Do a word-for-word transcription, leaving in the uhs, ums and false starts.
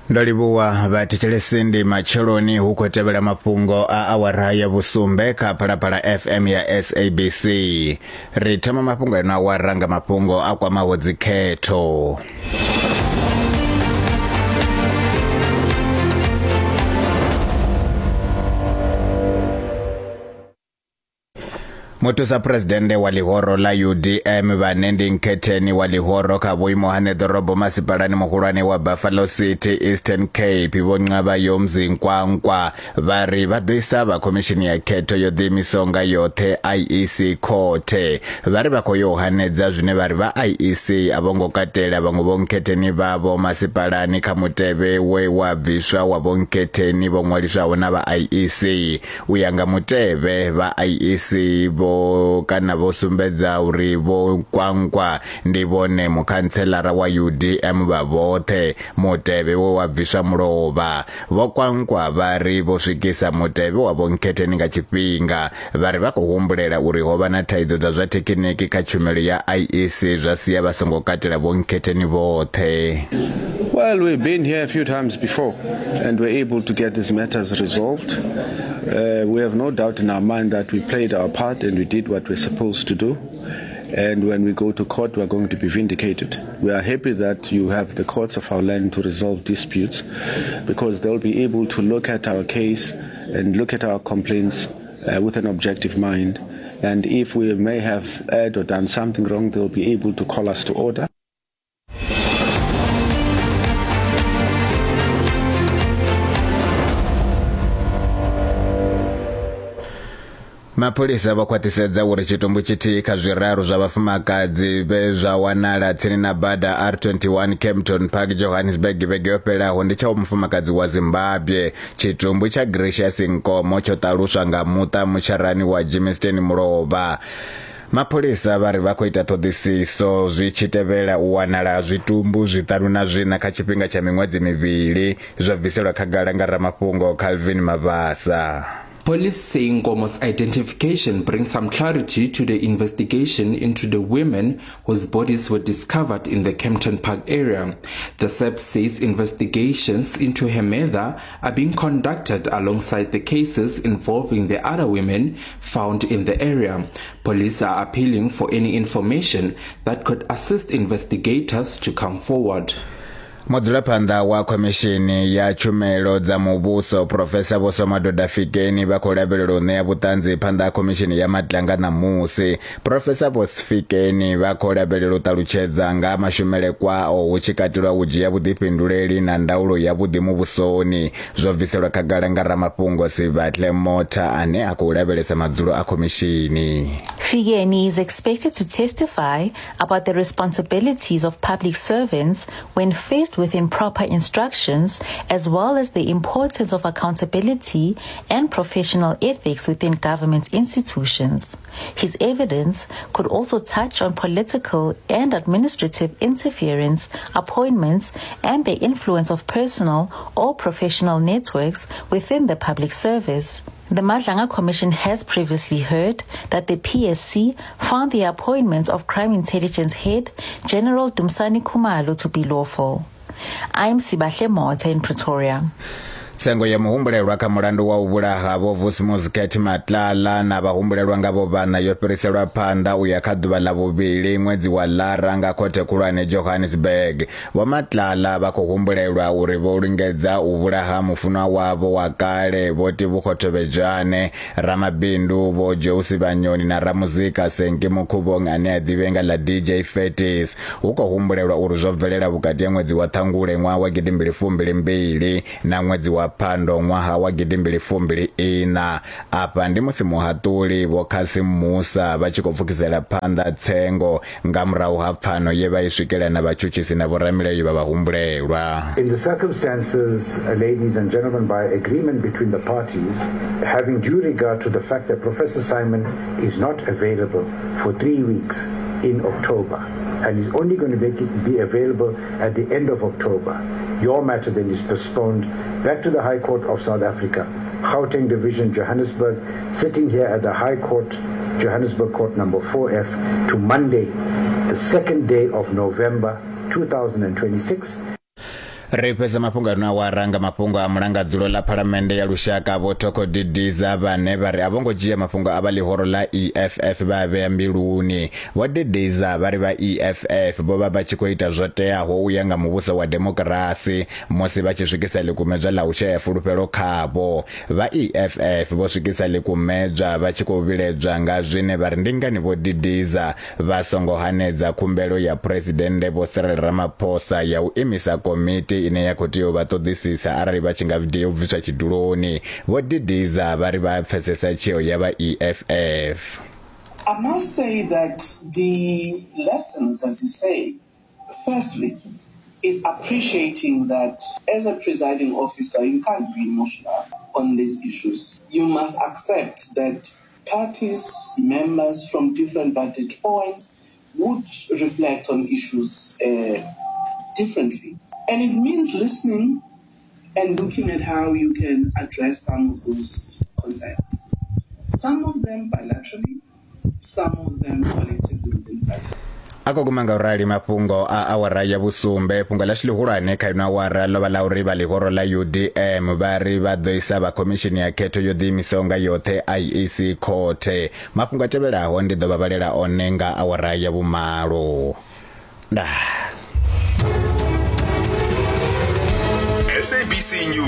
Ndo livhuwa vhathetshelesi, ndi matsheloni hu khou tevhela mafhungo a awara ya vhusumbe kha Phalaphala F M ya S A B C. Ri thoma mafhungo eno awara nga mafhungo a kwamaho dzikhetho. Muthusa presidennde wa ḽihoro ḽa U D M vhane ndi nkhetheni wa ḽihoro kha vhuimo ha ṋeḓorobo masipalani muhulwane wa Buffalo City Eastern Cape Vho Nqabayomzi Kwankwa vha ri vha ḓo isa vha khomishini ya khetho yo ḓiimisaho nga yoṱhe I E C khothe. Vha ri vha khou yo hanedza zwine vha ri vha I E C a vho ngo katela vhaṅwe vho nkhetheni vhavho masipalani kha mutevhe we wa bviswa wa vho nkhetheni vho ṅwaliswaho na vha I E C. U ya nga mutevhe vha I E C vho kana vho sumbedza uri vho Kwankwa ndi vhone mukhantselara wa U D M vha vhoṱhe mutevhe we wa bviswa mulovha. Vho Kwankwa vha ri vho swikisa mutevhe wa vho nkhetheni nga tshifhinga. Vha ri vha khou humbulela uri ho vha na thaidzo dza zwa thekhiniki kha tshumelo ya I E C zwa sia vha songo katela vho nkhetheni vhoṱhe. Well, we've been here a few times before and we're able to get these matters resolved. Uh, we have no doubt in our mind that we played our part and we did what we're supposed to do. And when we go to court, we're going to be vindicated. We are happy that you have the courts of our land to resolve disputes, because they'll be able to look at our case and look at our complaints uh, with an objective mind. And if we may have erred or done something wrong, they'll be able to call us to order. Mapholisa vho khwaṱhisedza uri tshitumbu tshithihi kha zwiraru zwa vhafumakadzi vhe zwa wanala tsini na bada R twenty-one Kempton Park Johannesburg vhege yo fhelaho ndi tsha mufumakadzi wa Zimbabwe. Tshitumbu tsha Gracious Nkomo tsho ṱaluswa nga muṱa mutsharani wa Germiston mulovha. Mapholisa vha ri vha khou ita ṱhoḓisiso zwi tshi tevhela u wanala zwitumbu zwiṱanu na zwiṋa kha tshifhinga tsha miṅwedzi mivhili, zwo bviselwa khagala nga ramafhungo Calvin Mabasa. Police say Nkomo's identification brings some clarity to the investigation into the women whose bodies were discovered in the Kempton Park area. The S A P says investigations into her murder are being conducted alongside the cases involving the other women found in the area. Police are appealing for any information that could assist investigators to come forward. Mudzulaphanḓa wa khomishini ya tshumelo dza muvhuso Professor Vho Somadoda Fikeni vha khou lavhelelwa u ṋea vhuṱanzi phanḓa ha khomishini ya Madlanga ṋamusi. Professor Vho Fikeni vha khou lavhelelwa u ṱalutshedza nga mashumele kwao hu tshi katelwa u dzhia vhuḓifhinduleli na ndaulo ya vhuḓi muvhusoni. Zwo bviselwa khagala nga ramafhungo Sibahle Motha ane a khou lavhelesa madzulo a khomishini. Fikeni is expected to testify about the responsibilities of public servants when faced with improper instructions, as well as the importance of accountability and professional ethics within government institutions. His evidence could also touch on political and administrative interference, appointments, and the influence of personal or professional networks within the public service. The Madlanga Commission has previously heard that the P S C found the appointments of Crime Intelligence Head General Dumisani Khumalo to be lawful. I'm Sibahle Motha in Pretoria. Tsengo ya muhumbulelwa kha mulandu wa u vhulaha Vho Vusimuzi Cat Matlala na vhahumbulelwa nga vho vhana yo fhiriselwa phanḓa u ya kha ḓuvha ḽa vhuvhili ṅwedzi wa Lara nga khothe khulwane Johannesburg. Vho Matlala vha khou humbulelwa uri vho lingedza u vhulaha mufunwa wavho wa kale Vho Tebogo Thobejane, ramabindu Vho Joe Sibanyoni na ramuzika Senki Mukhuvhong ane a ḓivhea nga ḽa D J Fetis. Hu khou humbulelwa uri zwo bvelela vhukati ha ṅwedzi wa Ṱhangule ṅwaha wa gidimbili fumbili mbili na ṅwedzi wa Phando ṅwaha wa gidimbili fumbili ina. Afha ndi musi muhaṱuli Vho Cassim Musa vha tshi khou pfukisela phanḓa tsengo nga murahu ha pfano ye vha i swikela na vhatshutshisi na vhoramilayo vha vhahumbulelwa. In the circumstances, ladies and gentlemen, by agreement between the parties, having due regard to the fact that Professor Simon is not available for three weeks in October and is only going to make it be available at the end of October, your matter then is postponed back to the High Court of South Africa, Gauteng Division, Johannesburg, sitting here at the High Court, Johannesburg Court number four F, to Monday, the second day of November two thousand twenty-six. Ri fhedza mafhungo ano awara nga mafhungo a mulangadzulo ḽa Phalamennde ya Lushaka Vho Thoko Didiza, vhane vha ri a vho ngo dzhia mafhungo a vha ḽihoro ḽa E F F vha vhea mbiluni. Vho Didiza vha ri vha E F F vho vha vha tshi khou ita zwo teaho u ya nga muvhuso wa demokirasi musi vha tshi swikisa ḽikumedzwa ḽa u shaya fulufhelo khavho. Vha E F F vho swikisa ḽikumedzwa vha tshi khou vhiledzwa nga zwine vha ri ndi ngani Vho Didiza vha songo hanedza khumbelo ya Phresidennde Vho Cyril Ramaphosa ya u imisa komiti ine ya khou tea u vha ṱoḓisisa arali vha tshi nga tea u bviswa tshiduloni. Vho Didiza vha ri vha pfesesa tsheo ya vha E F F. I must say that the lessons, as you say, firstly, is appreciating that as a presiding officer, you can't be emotional on these issues. You must accept that parties, members from different vantage points would reflect on issues uh, differently. And it means listening and looking at how you can address some of those concerns. Some of them bilaterally, some of them collectively within party. Ako guma nga urali mafhungo a awara ya vhusumbe. Fhungo ḽashu ḽihulwane kha ino awara ḽo vha ḽa uri vha ḽihoro ḽa U D M vha ri vha ḓo isa vha khomishini ya khetho yo ḓiimisaho nga yoṱhe I E C khothe. Mafhungo a tevhelaho ndi ḓo vha vhalela one nga awara ya vhumalo. Ndaa. S A B C News.